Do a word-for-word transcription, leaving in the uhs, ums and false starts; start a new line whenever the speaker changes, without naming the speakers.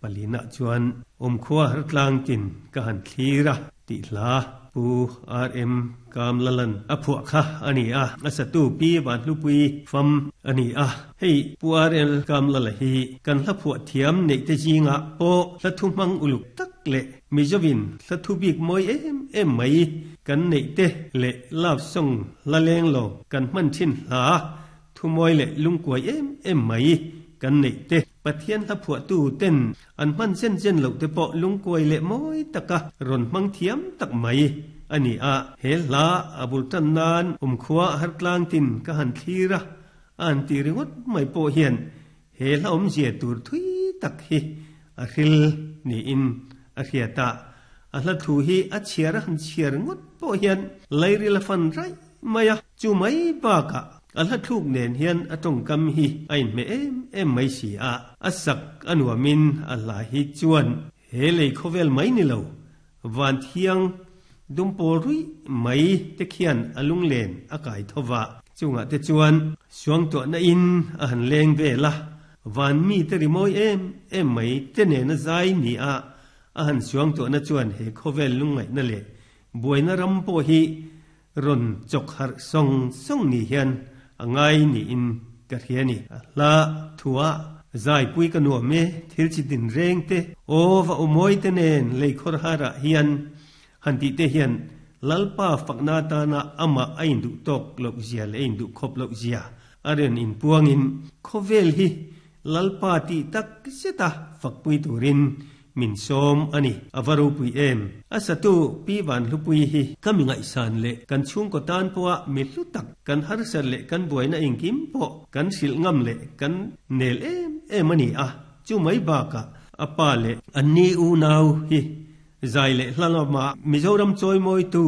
Palina chuan awmkhua har tlang tin ka han thlir a tih hla Pu RM Kamlalan a phuah kha a ni a, a satu Pi Vanhlupui fam a ni a. Hei Pu RL Kamlala hi kan hla phuah thiam neih te zingah pawh hla thu hmang uluk tak leh Mizovin hla thu bik mawi em em mai kan neih te leh love song hla leng lo kan hman thin hla thu mawi leh lungkuai em em mai kan neih te Pathian hla phuahtu ten an hman zen zen loh te pawh lungkuai leh mawi taka rawn hmang thiam tak mai a ni a. He hla a bul tan nan awmkhua har tlang tin ka han thlir a, a han ti ringawt mai pawh hian he hla awmzia tur thui tak hi a hril niin a hriat a. A hla thu hi a chhiar a han chhiar ngawt pawh hian lairil a fan raih mai a, chu mai bakah a hla thluk nen hian a tawngkam hi a inhmeh em em mai si a, a sak a nuamin a hla hi chuan he lei khawvel mai ni lo, van thiang dumpawl ruih mai te khian a lunglen a kai tho va. Chungah te chuan suangtuahna in a han leng vel a, van mi te rimawi em em mai te nena zai ni a, a han suangtuahna chuan he khawvel lungngaihna leh buaina ram pawh hi rawn chawk harh sawng sawng ni hian a ngai niin ka hria ni. A hla thuah zaipui ka nuam e, thil chi din reng te, aw va awmawi te nen lei khawr harah hian han tih te hian Lalpa fakna atana amah a induh tawk loh zia leh a induh khawp loh zia a rawn inpuangin khawvel hi Lalpa tih tak zeta fakpui turin min sawm a ni. A va ropui em? A satu Pi Vanhlupui hi ka mi ngaihsan leh kan chhungkaw tan pawha mi hlu tak, kan harsat leh kan buaina engkim pawh kan hrilh ngam leh kan nel em em a ni a. Chu mai bakah a pa leh anni unau hi zai leh hla lamah Mizoram chawimawitu